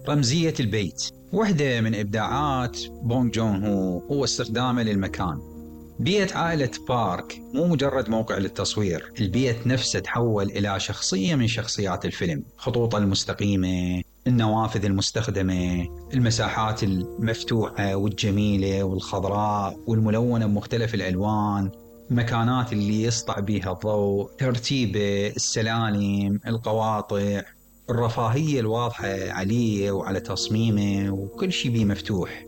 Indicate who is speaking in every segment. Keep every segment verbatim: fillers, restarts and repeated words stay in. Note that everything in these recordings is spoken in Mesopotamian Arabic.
Speaker 1: رمزية البيت. واحدة من إبداعات بونغ جون هو هو استخدامه للمكان. بيت عائلة بارك مو مجرد موقع للتصوير، البيت نفسه تحول إلى شخصية من شخصيات الفيلم. خطوطه المستقيمة، النوافذ المستخدمة، المساحات المفتوحة والجميلة والخضراء والملونة بمختلف الألوان، المكانات اللي يسطع بها الضوء، ترتيبه، السلالم، القواطع، الرفاهية الواضحة عليه وعلى تصميمه، وكل شيء بيه مفتوح.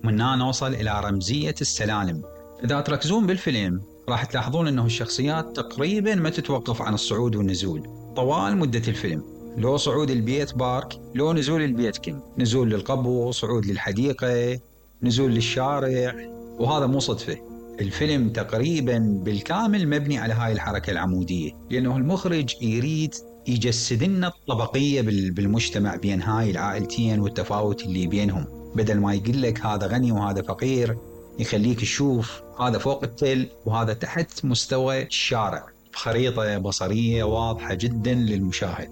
Speaker 1: من هنا نوصل إلى رمزية السلالم. إذا تركزون بالفيلم راح تلاحظون أنه الشخصيات تقريبا ما تتوقف عن الصعود والنزول طوال مدة الفيلم. لو صعود البيت بارك، لو نزول البيت كينغ، نزول للقبو، صعود للحديقة، نزول للشارع. وهذا مو صدفة، الفيلم تقريبا بالكامل مبني على هاي الحركة العمودية، لأنه المخرج يريد يجسد لنا الطبقية بالمجتمع بين هاي العائلتين والتفاوت اللي بينهم. بدل ما يقول لك هذا غني وهذا فقير، يخليك تشوف هذا فوق التل وهذا تحت مستوى الشارع بخريطة بصرية واضحة جدا للمشاهد.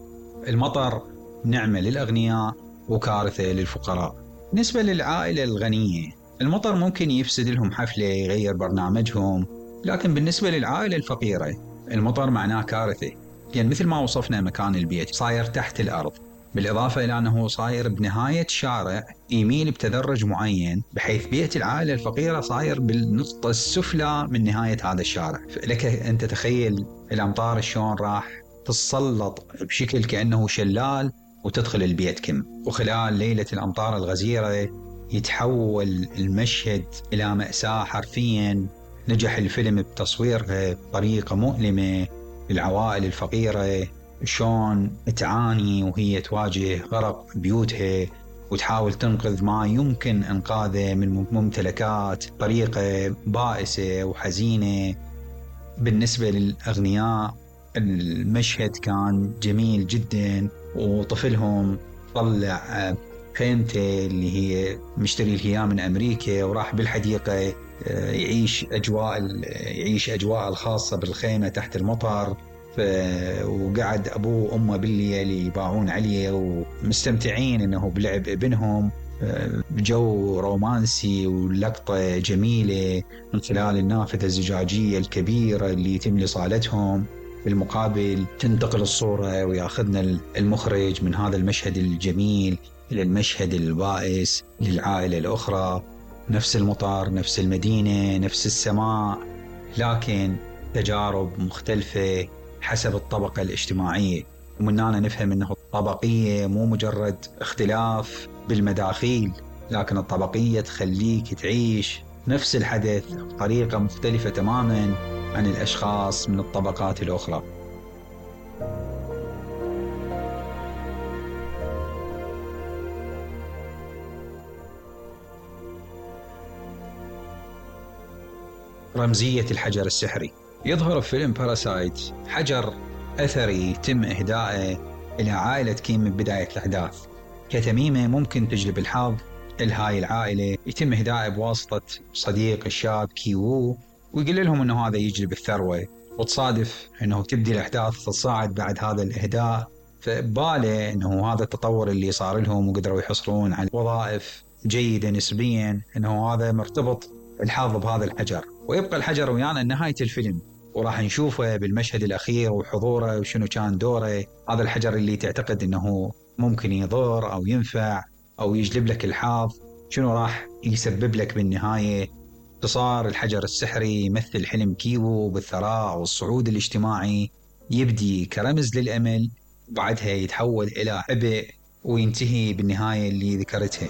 Speaker 1: المطر نعمة للأغنياء وكارثة للفقراء. بالنسبة للعائلة الغنية، المطر ممكن يفسد لهم حفلة، يغير برنامجهم، لكن بالنسبة للعائلة الفقيرة المطر معناه كارثة، لأن يعني مثل ما وصفنا مكان البيت صاير تحت الأرض، بالإضافة إلى أنه صاير بنهاية شارع يميل بتدرج معين، بحيث بيت العائلة الفقيرة صاير بالنقطة السفلى من نهاية هذا الشارع. لك أن تتخيل الأمطار شلون راح تتسلط بشكل كأنه شلال وتدخل البيت كم. وخلال ليلة الأمطار الغزيرة يتحول المشهد إلى مأساة حرفيا. نجح الفيلم بتصويرها بطريقة مؤلمة للعوائل الفقيرة، شلون تعاني وهي تواجه غرق بيوتها وتحاول تنقذ ما يمكن إنقاذه من ممتلكات بطريقة بائسة وحزينة. بالنسبة للأغنياء المشهد كان جميل جدا، وطفلهم طلع خيمته اللي هي مشتري لها من أمريكا وراح بالحديقة يعيش أجواء يعيش أجواء الخاصة بالخيمة تحت المطر. وقعد أبوه وأمه بالليل يباعون عليه ومستمتعين إنه بلعب ابنهم بجو رومانسي ولقطة جميلة من خلال النافذة الزجاجية الكبيرة اللي يتم لصالتهم. بالمقابل تنتقل الصورة وياخذنا المخرج من هذا المشهد الجميل إلى المشهد البائس للعائلة الأخرى. نفس المطار، نفس المدينة، نفس السماء، لكن تجارب مختلفة حسب الطبقة الاجتماعية. ومن هنا نفهم أنه الطبقية مو مجرد اختلاف بالمداخيل، لكن الطبقية تخليك تعيش نفس الحدث بطريقة مختلفة تماما عن الأشخاص من الطبقات الأخرى. رمزية الحجر السحري. يظهر في فيلم باراسايت حجر أثري تم إهدائه إلى عائلة كيم من بداية الأحداث كتميمة ممكن تجلب الحظ لهاي العائلة. يتم إهدائه بواسطة صديق الشاب كي وو، ويقول لهم أنه هذا يجلب الثروة، وتصادف أنه تبدي الأحداث تصاعد بعد هذا الإهداء، فباله أنه هذا التطور اللي صار لهم وقدروا يحصلون على وظائف جيدة نسبيا، أنه هذا مرتبط الحظ بهذا الحجر. ويبقى الحجر ويانا لنهاية الفيلم، وراح نشوفه بالمشهد الأخير وحضوره وشنو كان دوره. هذا الحجر اللي تعتقد أنه ممكن يضر أو ينفع أو يجلب لك الحظ، شنو راح يسبب لك بالنهاية. اختصار الحجر السحري يمثل حلم كيوو بالثراء والصعود الاجتماعي، يبدي كرمز للأمل وبعدها يتحول إلى عبء وينتهي بالنهاية اللي ذكرتها.